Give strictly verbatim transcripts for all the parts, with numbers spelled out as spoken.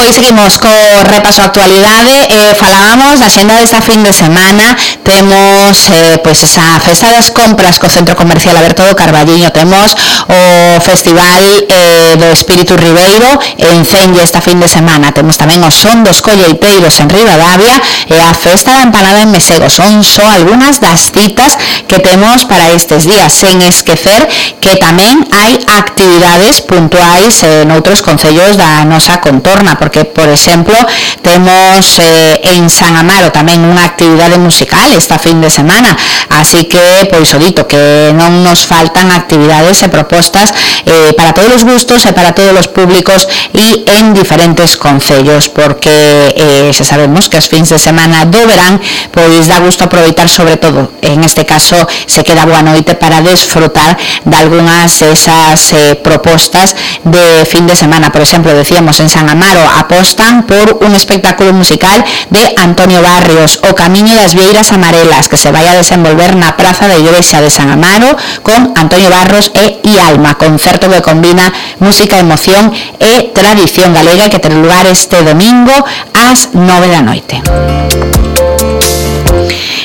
Pois seguimos co repaso a actualidade. eh, falábamos da xenda desta fin de semana. Temos eh, pois esa festa das compras co Centro Comercial Aberto do Carballiño, temos o Festival eh, do Espírito Ribeiro en Celle esta fin de semana, temos tamén o Son dos Colleiteiros en Ribadavia e a Festa da Empanada en Mesego. Son só algunhas das citas que temos para estes días, sen esquecer que tamén hai actividades puntuais eh, noutros concellos da nosa contorna, porque, por exemplo, temos eh, en San Amaro tamén unha actividade musical esta fin de semana, así que, pois o dito, que non nos faltan actividades e propostas eh, para todos os gustos e para todos os públicos e en diferentes concellos, porque eh, xa sabemos que os fins de semana do verán pois dá gusto aproveitar, sobre todo, en este caso, se queda boa noite para desfrutar de algunhas esas eh, propostas de fin de semana. Por exemplo, decíamos, en San Amaro apostan por un espectáculo musical de Antonio Barrios, O Camiño das Vieiras Amarelas, que se vai a desenvolver na Praza da Igrexa de San Amaro con Antonio Barros e Ialma, concerto que combina música, emoción e tradición galega, que ten lugar este domingo ás nove da noite.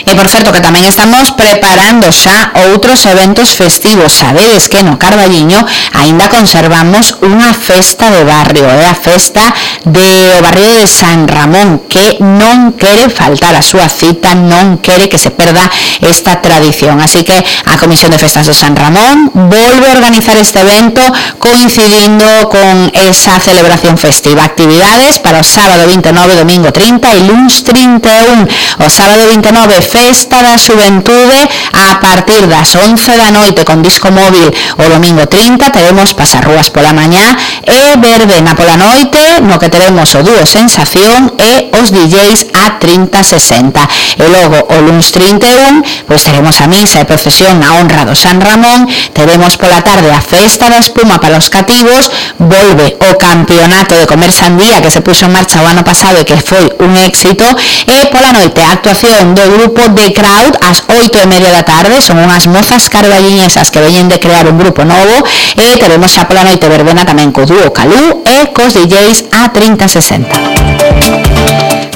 E, por certo, que tamén estamos preparando xa outros eventos festivos. Sabedes que no Carballiño aínda conservamos unha festa de barrio, é a festa do barrio de San Ramón, que non quere faltar a súa cita, non quere que se perda esta tradición. Así que a Comisión de Festas do San Ramón volve a organizar este evento coincidindo con esa celebración festiva. Actividades para o sábado vinte e nove, domingo trinta e luns trinta e un. O sábado vinte e nove, Festa da Xuventude a partir das once da noite con disco móvil. O domingo trinta teremos pasarrúas pola mañá e verbena pola noite, no que teremos o dúo Sensación e os D Js a trinta sesenta. E logo o luns trinta e un, pois teremos a misa e procesión na honra do San Ramón, teremos pola tarde a Festa da Espuma para os cativos, volve o campeonato de comer sandía que se puxo en marcha o ano pasado e que foi un éxito, e pola noite a actuación do grupo de Crowd ás oito e media da tarde. Son unhas mozas carballiñesas que veñen de crear un grupo novo, e teremos xa pola noite verbena tamén co dúo Calú e cos D Js a trinta sesenta.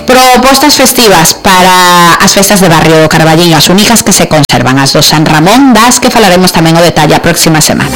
Propostas festivas para as festas de barrio do Carballiño, as únicas que se conservan, as do San Ramón, das que falaremos tamén o detalle a próxima semana.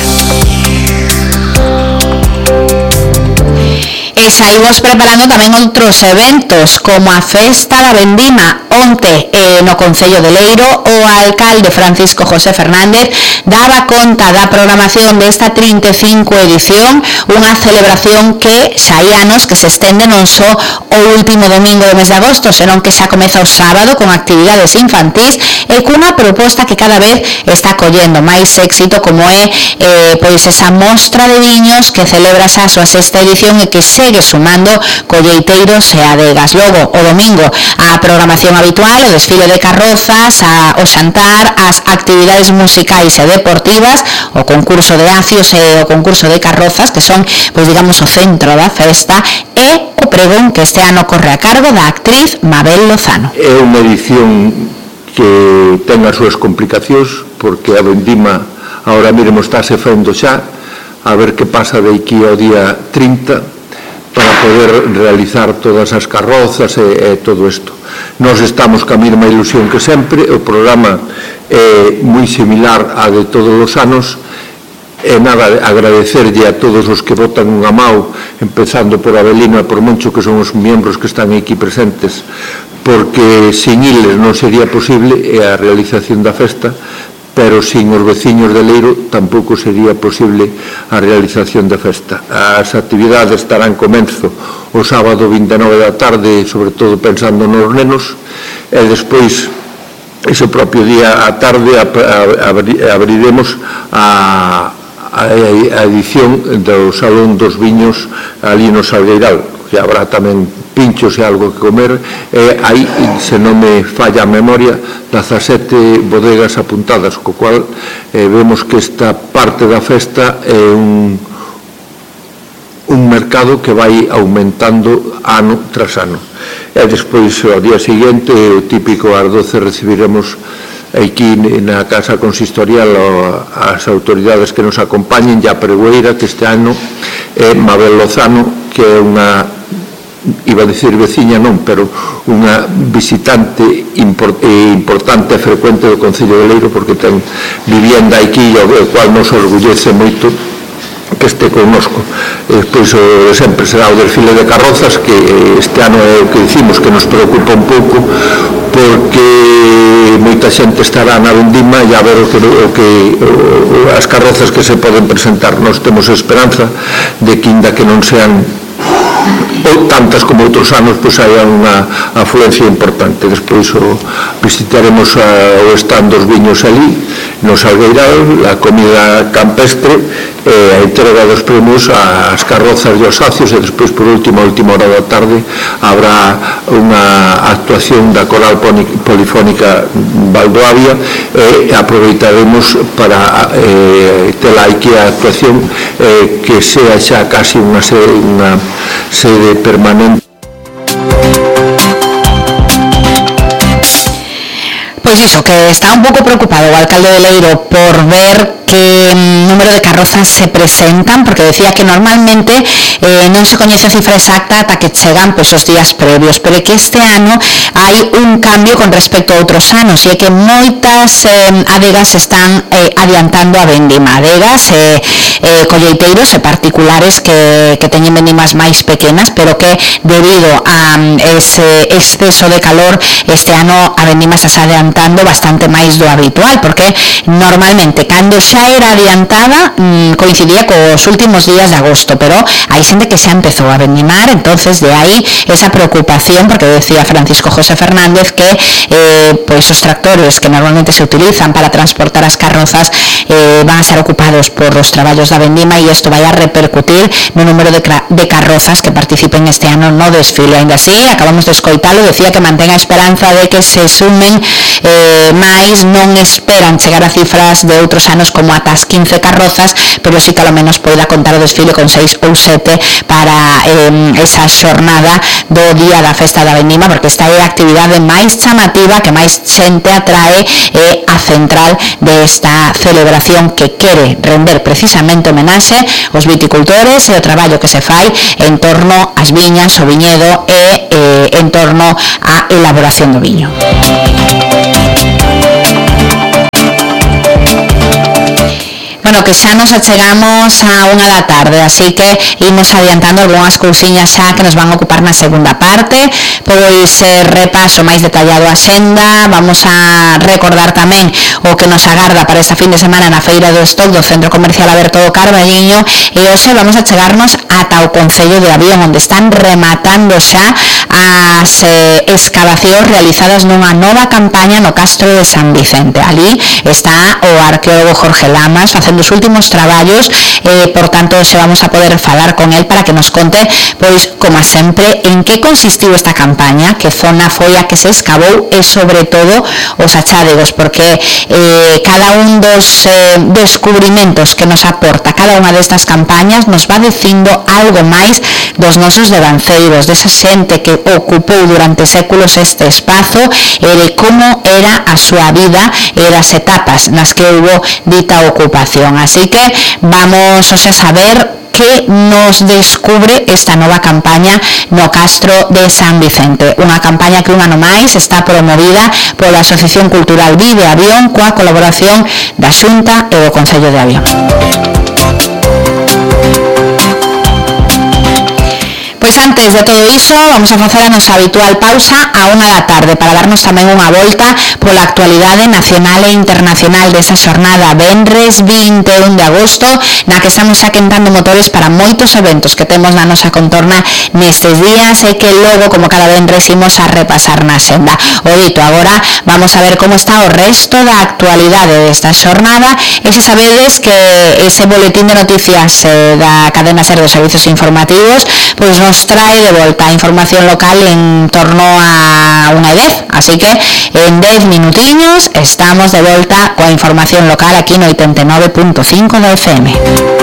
E saímos preparando tamén outros eventos, como a Festa da Vendima. Onte, eh, no Concello de Leiro, o alcalde Francisco José Fernández daba conta da programación desta trinta e cinco edición, unha celebración que xa hai anos que se estende non só o último domingo do mes de agosto, senón que xa comeza o sábado con actividades infantís e cunha proposta que cada vez está collendo máis éxito, como é eh, pois esa mostra de viños que celebra xa a súa sexta edición e que segue sumando colleiteiros e adegas. Logo, o domingo, a programación habitual, o desfile de carrozas, a, o xantar, as actividades musicais e deportivas, o concurso de acios e o concurso de carrozas, que son, pois digamos, o centro da festa, e o pregón que este ano corre a cargo da actriz Mabel Lozano. É unha edición que ten as súas complicacións, porque a vendima agora mesmo estáse fendo xa, a ver que pasa de aquí ao día trinta, para poder realizar todas as carrozas e, e todo isto. Nós estamos ca mesma ilusión que sempre, o programa é moi similar a de todos os anos, e nada, agradecerlle a todos os que votan unha mao, empezando por Abelino e por Moncho, que son os membros que están aquí presentes, porque sin iles non sería posible a realización da festa, pero sin os veciños de Leiro tampouco sería posible a realización da festa. As actividades estarán comenzo o sábado vinte e nove da tarde, sobre todo pensando nos nenos, e despois, ese propio día á tarde, abriremos a, a edición do Salón dos Viños ali no Salgueiral, que habrá tamén pinchos e algo que comer, e hai, se non me falla a memoria, dezasete bodegas apuntadas, co cual eh, vemos que esta parte da festa é un, un mercado que vai aumentando ano tras ano. E despois, ao día seguinte, o típico ás doce recibiremos aquí na Casa Consistorial as autoridades que nos acompañen, e a pregoeira que este ano é Mabel Lozano, que é unha iba a dicir veciña non, pero unha visitante import, eh, importante e frecuente do Concello de Leiro, porque ten vivienda aquí, o cual nos orgullece moito que este connosco. E despois o sempre será o desfile de carrozas, que este ano é o que dicimos que nos preocupa un pouco, porque moita xente estará na vendima e a ver o que, o que o, as carrozas que se poden presentar. Nós temos esperanza de que, inda que non sean ou tantas como outros anos, pois hai unha afluencia importante. Despois o, visitaremos a, o stand dos viños ali no Salgueiral, a comida campestre e a entrega dos premios ás carrozas e aos sacios, e despois por último, a última hora da tarde habrá unha actuación da Coral Polifónica Valdoavia e aproveitaremos para eh, ter aquí a actuación eh, que sea xa casi unha sede, unha sede permanente. Pois iso, que está un pouco preocupado o alcalde de Leiro por ver que número de carrozas se presentan, porque decía que normalmente eh, non se coñece a cifra exacta ata que chegan pois, os días previos, pero que este ano hai un cambio con respecto a outros anos, e é que moitas eh, adegas están eh, adiantando a vendima, adegas eh, eh, colleiteiros e particulares que, que teñen vendimas máis pequenas, pero que debido a um, ese exceso de calor este ano a vendima se está adiantando bastante máis do habitual, porque normalmente cando xa era adiantada mmm, coincidía cos últimos días de agosto, pero hai xente que xa empezou a vendimar, entonces de aí esa preocupación, porque decía Francisco José Fernández que eh, pois os tractores que normalmente se utilizan para transportar as carrozas eh, van a ser ocupados por os traballos da vendima, e isto vai a repercutir no número de, de carrozas que participen este ano no desfile. Ainda así, acabamos de escoitalo, decía que mantén a esperanza de que se sumen eh, máis, non esperan chegar a cifras de outros anos como ata as quince carrozas, pero sí que ao menos poida contar o desfile con seis ou sete para eh, esa xornada do día da festa da vendima, porque esta é a actividade máis chamativa, que máis xente atrae, é a central desta celebración que quere render precisamente homenaxe aos viticultores e o traballo que se fai en torno ás viñas, o viñedo e eh, en torno á elaboración do viño. Bueno, que xa nos achegamos a unha da tarde, así que imos adiantando algunhas cousiñas xa que nos van a ocupar na segunda parte. Pois eh, repaso máis detallado a xenda, vamos a recordar tamén o que nos agarda para esta fin de semana na Feira do Stock do Centro Comercial Aberto do Carballiño, e hoxe vamos a chegarnos ata o Concello de Avión, onde están rematando xa as eh, escavacións realizadas nunha nova campaña no Castro de San Vicente. Ali está o arqueólogo Jorge Lamas facendo os últimos traballos, eh, por tanto se vamos a poder falar con él para que nos conte, pois, como sempre, en que consistiu esta campaña, que zona foi a que se escavou e, sobre todo, os achádegos, porque eh, cada un dos eh, descubrimentos que nos aporta cada unha destas campañas nos va dicindo algo máis dos nosos devanceiros, desa xente que ocupou durante séculos este espazo, e de como era a súa vida e das etapas nas que houve dita ocupación. Así que vamos hoxe a saber que nos descubre esta nova campaña no Castro de San Vicente, unha campaña que un ano máis está promovida pola Asociación Cultural Vive Avión, coa colaboración da Xunta e do Concello de Avión. Pois antes de todo iso, vamos a facer a nosa habitual pausa a unha da tarde para darnos tamén unha volta pola actualidade nacional e internacional desa xornada venres vinte e un de agosto, na que estamos xa quentando motores para moitos eventos que temos na nosa contorna nestes días, e que logo, como cada venres, imos a repasar na xenda. O dito, agora vamos a ver como está o resto da actualidade desta xornada, e se sabedes que ese boletín de noticias eh, da cadena SER dos servicios informativos pois nos trae de volta a información local en torno a unha e dez, así que en dez minutiños estamos de volta coa información local aquí no oitenta e nove punto cinco da F M.